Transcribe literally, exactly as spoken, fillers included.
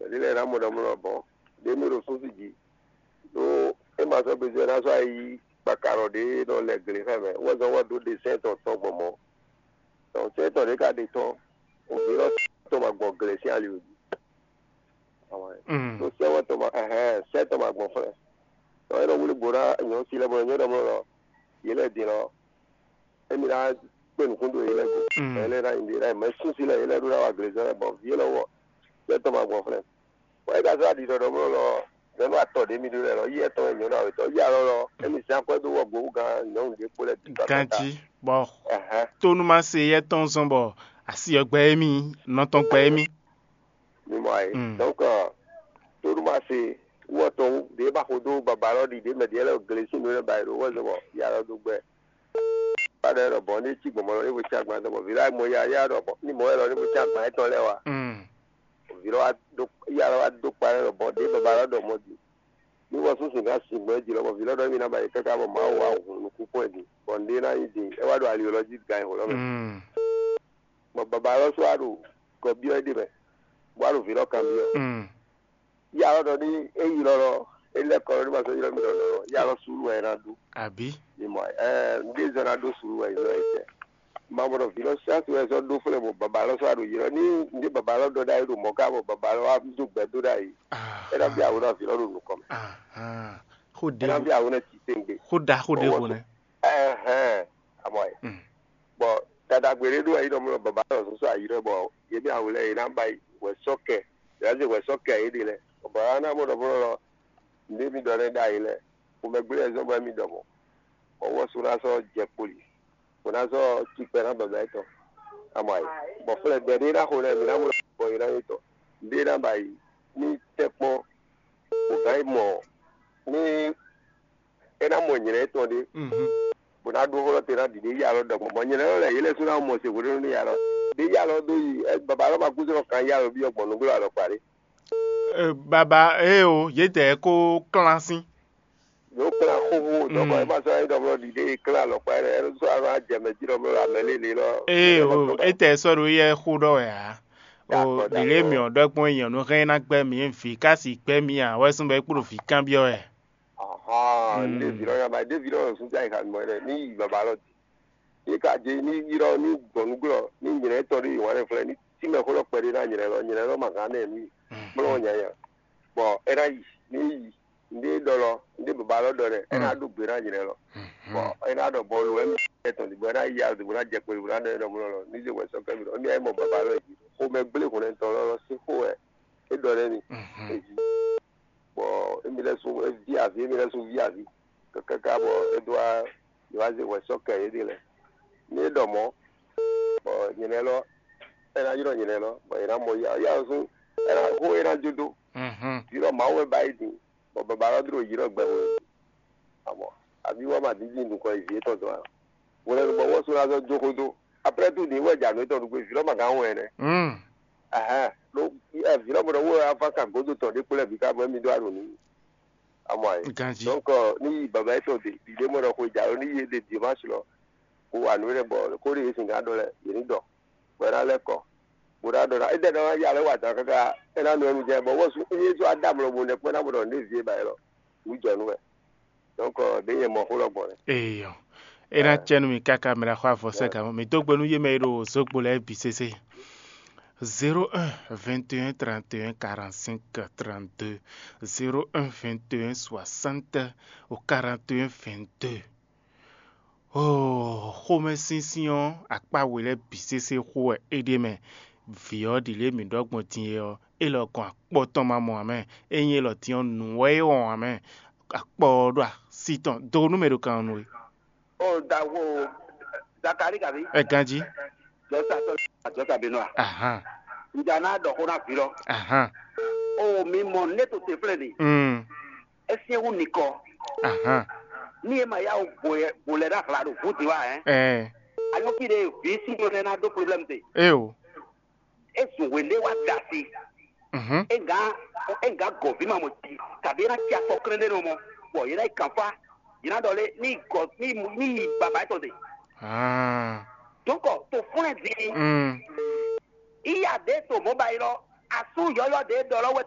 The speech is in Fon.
Ɖé lɛ́ɛ ná mɔ ɖɔ mlɔ bɔn ɖé mí ɖo súnsi jí ɖó é ma sɔ́ bezɔ́ ná sɔ́ ayi kpakarɔ ɖé nɔ lɛ gle xá mɛ wɔ zɔn wɔ dó ɖe sɛn tɔn tɔn gbɔn mɔ. Dɔn sɛn tɔn ɖé ka ɖe tɔn òbí lɔ tɔn ma gbɔn gle sín ali òbí. Tó sɛn wɔ tɔn ma ɛhɛn sɛn tɔn ma gbɔn flɛ. Tɔn é nɔ wuli bo ná nyɔ si lɛ bɔ nyɔ ɖɔ mlɔ lɔ yě lɛ din lɔ émi ná kpé nukún ɖo yě lɛ go. Yě lɛ ná nyi ɖe ná mɛ súnsi lɛ yě lɛ ɖó ná wa glezɔ́ lɛ bɔ vǐ lɔ wɔ sɛn tɔn ma gbɔn flɛ. Wɔ é ka zɔ́ aɖi ɖɔɖɔ mlɔ lɔ nyɔ̌nu atɔ ɖě mi ɖó lɛ lɔ yi etɔn wɛ nyɔ̌nu awětɔ́ yi alɔ lɔ émi zán akwɛ́ dó wɔ gbowúgán nyɔ̌nu ɖé kpó lɛ́ bǐ kakata. Ganjí bɔ tónúmase yɛ́ tɔn zɔn bɔ asi ɔ́ gbɛ émí, nɔ tɔn gbɛ émí. Mi mɔ ayé. Donc tónúmase wɔ tɔn ɖě ba xo dó baba lɔ ɖi ɖě mɛ ɖě lɛ glesi nú lɛ ba yi ɖo wɔ zɔn bɔ yi alɔ dó gbɛ. Ba ɖɔ lɔ bɔ ní cí gbɔmɔ lɔ ní bo cí agban tɔn bɔ vǐ lɔ mɔ ya ya ɖɔ bɔ ní mɔ wɛ lɔ ní bo cí agban etɔn lɛ wa. Vǐ lɔ wa dó ya lɔ wa dó kpa lɛ lɔ bɔ ɖě baba lɔ ɖɔ mɔ di. Ní wɔ súnsún gán sin gbɔn jí lɔ bɔ vǐ lɔ ɖɔ mí ná ba yi káká bɔ Mawu wa hun nukún kpɔn jí bɔ nɖé ná nyí din é wá ɖo ali lɔ jí gan xo lɔ mɛ. Bɔ baba lɔ sɔ wa ɖo kɔ byɔ é ɖe mɛ bɔ wa ɖo vǐ lɔ kan byɔ. Ya lɔ ɖɔ ní é yi lɔ lɔ é lɛ kɔ lɔ ní ma sɔ ylɔ mí lɔ lɔ ya lɔ sulu wɛ é ná ɖu. Àbí? Mi mɔ ɛ ŋdé zɔ ná ɖó sulu wɛ ylɔ é tɛ. Ma mɔ ɖɔ vǐ lɔ sɔ́ asi wɛ sɔ́ ɖó flɛ́ bɔ baba lɔ sɔ́ aɖo ylɔ ní ŋdé baba lɔ ɖɔ ɖ'ayǐ ɖo mɔ̌ ká bɔ baba lɔ wá dó gbɛ dó ɖ'ayǐ. É ná bí awo ná vǐ lɔ ɖo nukɔn mɛ. Xó é ná ɖe bí awo ná ci tɛngbé. Xó ɖaxó ɖe xo nɛ. Ɛhɛn, amɔ ɛ. Bɔ dadagbe ɖé ɖo ayi ɖɔ mɔ baba lɔ sɔsɔ ayi ɖɔ bɔ yě mɛ awu lɛ yě ná ba yi wɛ sɔ kɛ yě ná zé wɛ sɔ kɛ yě ɖe lɛ bɔ baba ná mɔ ɖɔ mɔ lɔ ŋdé mi ɖɔ lɛ ɖ'ayǐ lɛ xomɛ gblé ɛzɔn bɔ mi ɖɔ mɔ bɔ wɔ so ná sɔ jɛ kpoli bɔ ná sɔ cikpɛ ná baba yě tɔn amɔ ayi bɔ flɛ gbɛ ɖé ná xo lɛ mi ná mɔ bɔ yě ná yě tɔn ŋdé ná ba yi ní tɛkpɔn bɔ gǎn yi mɔ ní é ná mɔ nyɛ̌ tɔn ɖé bó ná ɖó xó lɔ te ná ɖiɖe yi alɔ ɖɔgbɔn bɔ nyɛ lɛ́ɛ lɛ́ yě lɛ́ sú ná mɔ se hwenu ní alɔ ɖe yi alɔ dó yi baba lɔ ma kúzɔ kan yi alɔ byɔ́ gbɔn nǔgblo alɔ kpa ɖé. Baba ée o, yědɛɛ kó klán sín. Yǒ klán xóxó dɔkɔ é ma sɔ́ é ɖɔ mlɔ ɖiɖe yi klán alɔ kpa ɖé é sɔ́ alɔ ajɛ mɛ jí ɖɔ mlɔ amɛ lélẹ̀ lɔ. Ée o, étɛɛ sɔ́ ɖo yɛ xó ɖɔ wɛ ǎ. O ɖiɖe mì ɔ́ ɖɔ gbɔn nyɔ̌nu hɛn ná gbɛ́ mì vǐ ká si gbɛ́ mì ǎ wɛ sún bɔ é kpo ɖo vǐ kanbyɔ́ wɛ. Ahɔn ɖevi lɔ yaba ɖevi lɔ sún ja yi xanu mɔ ɖe ní yi baba lɔ di. Ní ka dze ní yi lɔ ní gbɔn nú glɔ ní nyrɛ tɔn ɖe yi wǎn ɖe flɛ ní tí mɛ xó lɔ kpɛɖé ná nyrɛ lɔ nyrɛ lɔ ma gán nɛ ní kplɔ́n nyanya. Bɔ é ná yi ní yi ní ɖɔ lɔ ní baba lɔ ɖɔ ɖɛ é ná ɖó gbe ná nyrɛ lɔ. Bɔ é ná ɖɔ bɔlu wɛ mi tɔn di bɔ é ná yi azɔ bó ná jɛ kpeli bó ná ɖɔ é ɖɔ mɔ lɔ ní zé wɛ sɔ kɛ mi lɔ ní ayé mɔ baba lɔ yi xomɛ gblé hɔn tɔn lɔ lɔ sí xó wɛ é ɖɔ ɖɛ mi. Bɔ émi lɛ́ sú é ví aví émi lɛ́ sú ví aví káká bɔ é dó wá é wá zé hwɛ sɔ́ kɛ yě ɖe lɛ́ɛ. Ní é ɖɔ mɔ̌, bɔ nyɛ lɛ́ɛ lɔ é ná ylɔ́ nyɛ lɛ́ɛ lɔ bɔ è nǎ mɔ yá yá ɔ́ sú é ná xó é ná jó dó. Ylɔ́ Mawu wɛ ba yi din bɔ baba lɔ dó yi lɔ gbɛ hwe. Amɔ àbí wá ma dídí nukɔn yi vǐ étɔn dɔn a? Hwlɛ́nu bɔ wɔ sú ná zɔ jó xó dó. Après tout ní wɛ dza nǔ étɔn ɖu gbé vǐ lɔ ma gán wɛn nɛ. Ɛhɛn, ɖó vǐ lɔ mɔ ɖɔ wɔ afa kan gǒdo tɔn ɖé kplé bǐ ká bɔ émi ɖó aɖo n'i. Amɔ ayé. Ganji. Donc ní yi baba étɔn ɖe ɖiɖé mɔ ɖɔ xwe dza ní yi ɖe dimanche lɔ kó wa nǔ ɖé bɔ kó ɖe yě sin gán ɖɔ lɛ yě ní ɖɔ bɔ é ná lɛ́ kɔ bó ná ɖɔ ná é ɖɛ ná ya lɛ́ wa dǎn káká é ná nɔ ɛnu jɛ bɔ wɔ sú é sɔ́ adá mlɔ bo nɛ kpɔ́ ná bo ɖɔ ní vie ba é lɔ wú jɔ nú wɛ. Donc ɖě nyɛ mɔ xó lɔ gbɔn nɛ. Eyɔ. É ná cɛ nú mi káká mi ná xɔ avɔ sɛ gǎn mì dó gbe nú yé mɛ e ɖo zogbo lɛ́ɛ bǐ sésé. Zéro un vingt et un trente et un quarante-cinq trente-deux, zéro un vingt et un soixante au quarante et un vingt-deux. Oh, xomɛsinsin ɔ́ akpá we lɛ́ɛ bǐ sésé xó wɛ é ɖe mɛ. Vǐ ɔ́ ɖi lě mǐ ɖɔ gbɔn din é ɔ́, é lɔ gɔn akpɔ tɔn ma mɔ ǎ mɛ. É nyí élɔ́ din ɔ́, nǔ wɛ é wɔn ǎ mɛ. Akpɔ ɔ́ ɖo así tɔn dó nú mɛ ɖo kan ɔ́ nú we. O daxo Zakari kabi. Ɛ ganjí. Jɔsa tɔ jɔsa bínú a. Ahan. Ǹjẹ́ a náà dɔ̀kó náà fi lọ. Ahan. O mi mɔ ne to te flɛ ni. Mm. Esi ewu nikɔ. Ahan. Ni e ma ya wo bo yɛ bo lɛ na hla do fu ti wa ɛ. Ɛ. Anyɔ ki de vi si do lɛ na do problème te. E o. E zun wende wa da si. Mhm. E nga e nga gɔ vi ma mo ti. Kabi na tia kɔ kren de no mo. Bɔ yena i kanfa. Yena dɔ le ni gɔ ni ni yi baba etɔ de. Ah. Donc to fún ẹ di. Mm. Iya de to mo ba yi lɔ. Asu yɔyɔ de dɔ lɔ wɛ